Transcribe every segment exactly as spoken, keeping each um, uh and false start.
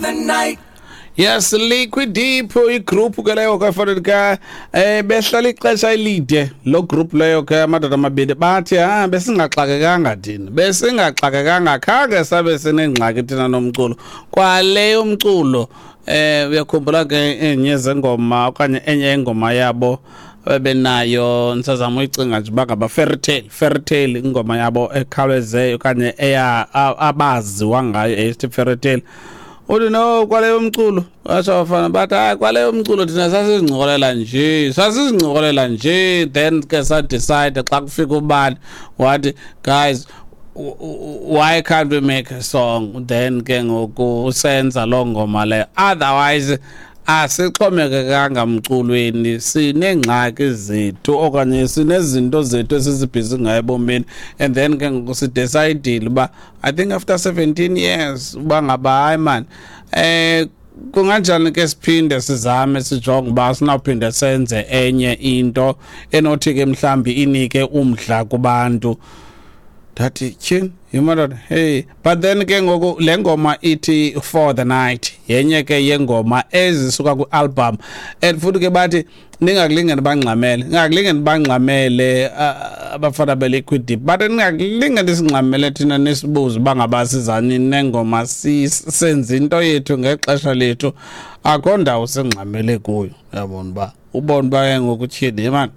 The night. Yes, Liquid Deep, igroup ke leyo ke fanele ke eh behlala ixesha elide lo group leyo ke. Amadoda amabini bathi, "Ah, besingaxakekanga thina, besingaxakekanga, khange sabe sinengxaki thina nomculo kwale umculo." eh uyakhumbula ke enye zengoma okanye enye ingoma yabo bebenayo? Ndisazama uyicinga nje uba ngaba Fairy Tale, Fairy Tale, ingoma yabo ekhawuleze okanye eya abaziwa ngayo esithi Fairy Tale. Uthi, "No, kwaleyo umculo," batsho abafana bathi, "Hayi, kwaleyo umculo thina sasizincokolela nje, sasizincokolela nje. Then ke sadecide xa kufika ubani wathi, 'Guys, why can't we make a song?' Then ke ngoku senza loo ngoma leyo. Otherwise asixhomekekanga mculweni, sineengxaki zethu okanye sinezinto zethu esizibhizi ngayo ebomini. And then ke ngoku sidecidile uba, I think after seventeen years, uba ngaba hayi man, eh kunganjani ke siphinde sizame, sijonge uba sinawuphinde senze enye into enothi ke mhlawumbi inike umdla kubantu." Ndathi, "Tyhini, yimadoda, hey." But then ke ngoku le ngoma ithi For the Night yenye ke yengoma ezisuka kwi-album, and futhi ke bathi ningakulingeni bangxamele, ningakulingeni bangxamele abafana be-Liquid Deep, but ningakulingeni singxamele thina nisibuze uba ngaba sizani nengoma. Senza into yethu ngexesha lethu, akho ndawo singxamele kuyo." Uyabona uba ubone uba ke ngoku, tyhini mani,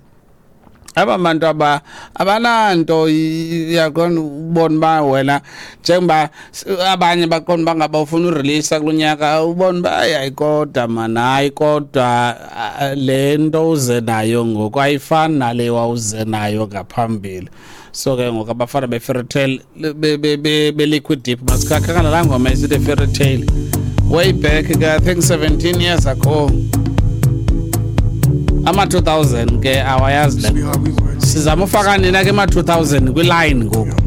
aba bantu aba abananto. Uyaqonda ubona uba wena njengoba abanye baqonda uba ngaba ufuna ureleasa kulo nyaka, ubona uba hayi kodwa man, hayi kodwa le nto uze nayo ngoku ayifani nale wawuze nayo ngaphambili. So ke ngoku abafana be-Fairy Tale, be-Liquid Deep, masikhakhakana laa ngoma esithi Fairy Tale, way back ke, I think seventeen years ago, ama-two thousand ke awayazi le. Sizama ufaka nina ke ema-two thousand kwiline ngoku.